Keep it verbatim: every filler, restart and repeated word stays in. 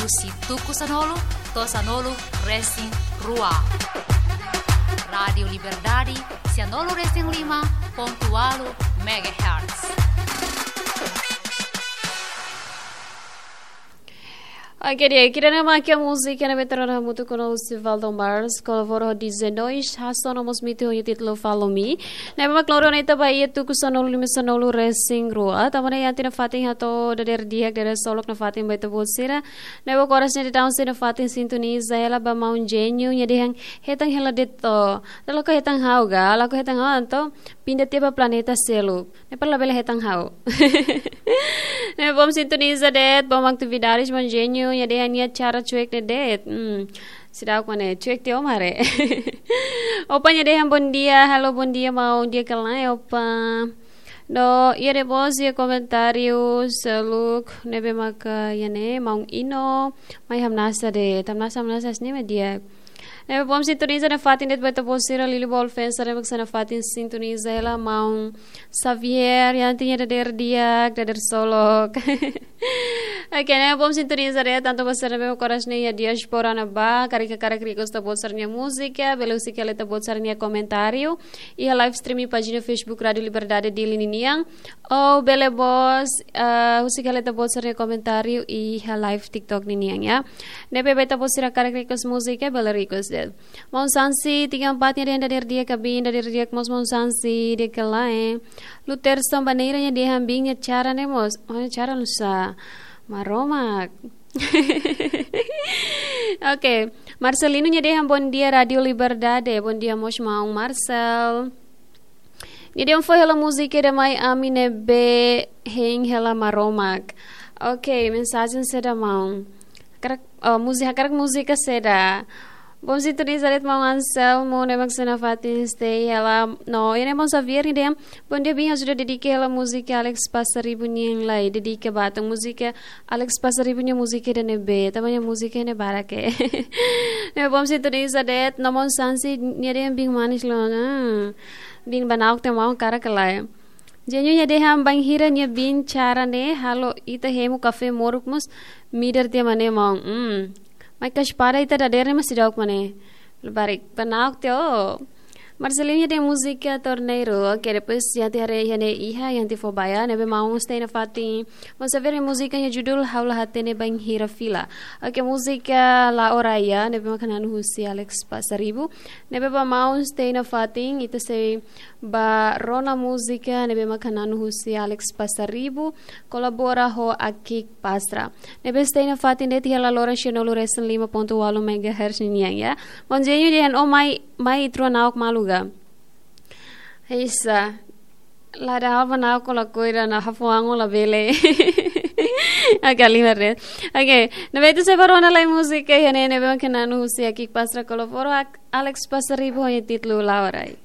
Husi tuku sanulu to'o sanulu resin rua. Rádiu Liberdade, sanulu resin lima pontu ualu megahertz. Oke, di'ak, ida-ne'e mak múzika ne'ebé tau ona hamutuk ho Sivaldo Mars, kolabora ho D J Nois, hasoru no mós mitu ho títulu Follow Me. Ne'ebé mak lori ona ita ba iha tuku sanulu lima sanulu resin rua. Tanba ne'e iha tiha ona fatin hato'o dadeer di'ak, dadeer solok nafatin ba ita-boot sira. Ne'ebé oras ne'e daudaun sira nafatin sintoniza hela ba maun Genio, nia dehan hetan hela de'it. Entaun lakohi hetan ha'u ka, lakohi hetan ha'u entaun pinda tiha ba planeta seluk. Ne'e para labele hetan ha'u. Ne'ebé bom sintoniza de'it, bom atividades, maun Genio, nia dehan nia cara cuek ne'e de'it. Hmm. Seidauk mak ne'e, cuek tiha ó mare. Opa nia dehan bom dia, halo bom dia, maun, di'ak ka lae, opa. No, iha de'it mós iha komentáriu seluk, ne'ebé maka iha ne'e, maun Ino, mai hamnasa de'it, hamnasa, hamnasa, sini media. Ne'ebé bom sintoniza nafatin de'it ba ita-boot sira, Lili Bolfensa, ne'ebé mak sei nafatin sintoniza hela, maun Xavier, iha tiha ona dadeer di'ak, dadeer solok. Oke, ne'ebé bom sintoniza de'it, tantu ba sira ne'ebé mak oras ne'e iha diáspora ne'ebá, karik hakarak request ita-boot sira-nia múzika, bele husik hela ita-boot sira-nia komentáriu iha live streaming pájina Facebook Rádiu Liberdade Dili ninian, ou bele mós, eh, husik hela ita-boot sira-nia komentáriu iha live TikTok ninian, ya. Ne'ebé ba ita-boot sira karik request múzika, bele request de'it. Maun Sansi, tiga empat nia dehan dadeer di'ak kabin, dadeer di'ak mós maun Sansi, di'ak ka lae. Luterson Baneira nia dehan biin nia cara ne'e mós, oh, nia cara nusá, Maromak. Oke, Marcelino nia dehan bom dia Rádiu Liberdade, bom dia mós maun Marcel. Nia dehan fó hela múzika ida mai ami ne'ebé hein hela Maromak. Oke, mensajen saida maun? Hakarak, oh, múzika, hakarak múzika saida? Bom sintoniza de'it maun Anselmo, ne'ebé mak sei nafatin stay hela. No, iha ne'e maun Xavier nia dehan bom dia biin, ajuda dedika hela múzika Alex Passaribu nian lai, dedika ba ita, múzika Alex Passaribu nia múzika ida ne'ebé, tanba nia múzika ne'e barak. Ne'ebé bom sintoniza de'it, no maun Sansi nia dehan biin manis loos, ah. Biin ba na'ok tiha maun, hakarak ka lae. Genio nia dehan bainhira nia biin cara ne'e halo ita hemu kafé moruk mós midar tiha mak ne'e maun. Hmm. Mai ka espada ita dadeer ne'e mós seidauk mak ne'e. Labarik, ba na'ok tiha ó. Marcelino nia dehan múzika Torneiro. Oke, depois iha tiha haree iha ne'e iha, iha tiha fó ba iha, ne'ebé maun stay nafatin. Maun Xavier nia múzika nia judul Ha'u La Hatene Bainhira Fila. Oke, múzika La'o Raya, ne'ebé mak hananu husi Alex Passaribu. Ne'ebé ba maun stay nafatin, ita sei ba rona múzika ne'ebé mak hananu husi Alex Passaribu, kolabora ho Akik Pastra. Ne'ebé stay nafatin de'it iha laloran sanulu resin lima pontu ualu megahertz nian, ya. Maun Genio dehan ó mai, mai ita rua na'ok malu ka? Isa. La dá ba na'ok, lakohi ida, na hafuango labele. Oke, lima red. Oke, ne'ebé ita sei ba rona lai múzika iha ne'e, ne'ebé mak hananu husi Akik Pastra, kolabora ho Alex Passaribu, ho nia títulu La'o Raya.